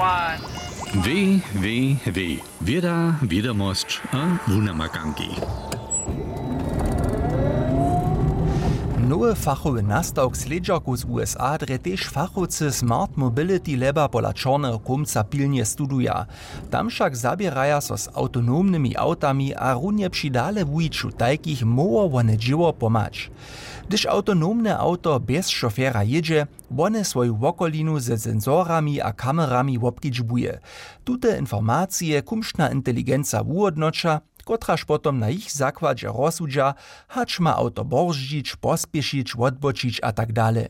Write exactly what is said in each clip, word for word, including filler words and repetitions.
Www, wěda, wědomosć a wunamakanki. Nowy fachowy nastawk slědźerkow z usa drje tež fachowcy smart mobility laba pola čorneho kómca pilnje studuja. Tam wšak zaběraja so z awtonomnymi awtami a runje při dale wuwiću tajkich móhło wone dźěło pomhać. Hdyž awtonomne awto bjez šofera jědźe, wone swoju wokolinu ze sensorami a kamerami wobkedźbuje. Tute informacije kumšna inteligenca wuhódnoća, kotraž potom na jich zakładźe rozsudźa, hač ma awto borzdźić, pospěšić, wotbočić a tak dale.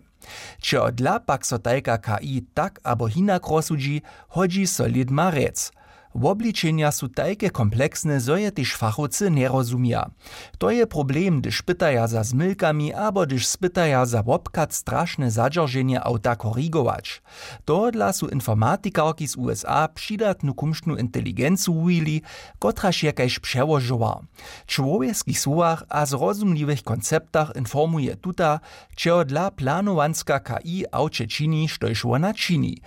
Čehodla pak so tajka k i tak abo hinak rozsudźi, hodźi so lědma rjec. Wobličenja su tajke kompleksne, zo je tež fachowcy njerozumja. To je problem, hdyž pytaja za zmylkami abo hdyž spytaja za wobchad strašne zadźerženje awta korigować. Tohodla su informatikarki z usa přidatnu kumšnu inteligencu wuwili, kotraž je kaž přełožowar. W čłowjeskich słowach a zrozumliwych konceptach informuje tuta, čehodla planowanska k i awće čini, štož wona čini.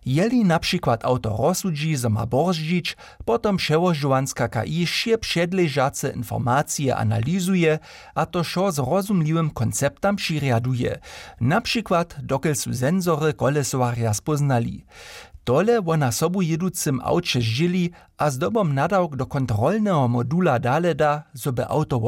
Jeli na přikład awto rozsudźi, zo ma borzdźić, potom přełožowanska k i wšě předležace informacije analizuje, a to wšo zrozumliwym konceptam přirjaduje, na přikład dokelž su sensory kolesowarja spóznali. Tole wona sobujěducym awće zdźěli a zdobom nadawk do kontrolneho modula dale da, zo by awto